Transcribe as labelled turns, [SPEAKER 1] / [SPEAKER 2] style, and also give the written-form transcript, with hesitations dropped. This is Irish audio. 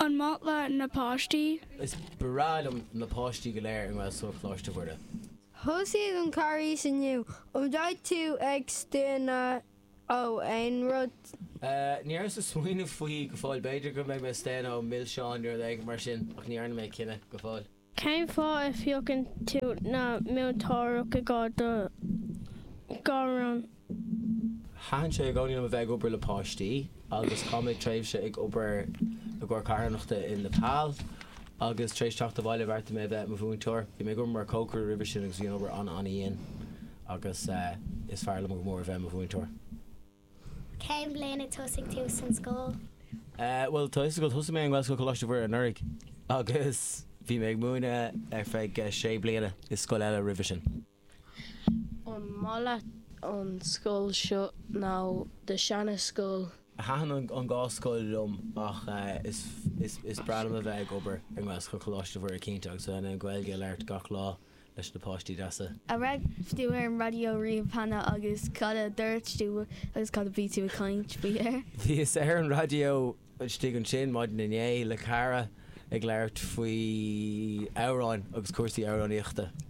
[SPEAKER 1] An maith leat na páistí?
[SPEAKER 2] Is breá liom na páistí go léir i nGaelscoil Choláiste Mhuire.
[SPEAKER 3] Thosaigh an Carghas inniu. An mbeidh tú ag staonadh ó aon rud?
[SPEAKER 2] Ní rabhas ag smaoineamh faoi go fóill. B'fhéidir go mbeidh mé ag staonadh ó milseáin nó rud éigin mar sin ach ní dhearna mé cinneadh go fóill.
[SPEAKER 1] Cén fáth a phiocann tú na múinteoireacht i gcomhair do ghairm?
[SPEAKER 2] Thaitin sé i gcónaí liom a bheith ag obair le páistí agus chaith mé tréimhse ag obair i gcomhair carthanachta i Nepal agus tar éis teacht abhaile bheartaigh mé a bheith i mo mhúinteoir. Bhí mé ag obair mar chócaire roimhe sin agus bhí an obair an-an-dhian agus is fearr liom go mór a bheith i mo mhúinteoir.
[SPEAKER 4] Cén bhliain a tosaigh tú san scoil?
[SPEAKER 2] Bhuel, tá fhios agat, thosaigh mé i nGaelscoil Choláiste Mhuire anuraidh agus bhí mé ag múineadh ar feadh sé bliana i scoil eile roimhe sin.
[SPEAKER 5] An maith leat an scoil seo nó do seana scoil?
[SPEAKER 2] Thaitin an dhá scoil liom ach is is breá liom a bheith ag obair i nGaelscoil Choláiste Mhuire cinnte agus a bheith in ann Gaeilge a labhairt gach lá. leis na páistí deasa.
[SPEAKER 6] An raibh tú ar an raidió riamh cheana agus cad a dúirt tú agus cad a bhí tú ag caint faoi air?
[SPEAKER 2] Bhíos ar an raidió istigh ansin maidin inné le cara ag labhairt faoi amhráin agus cúrsaí amhránaíochta.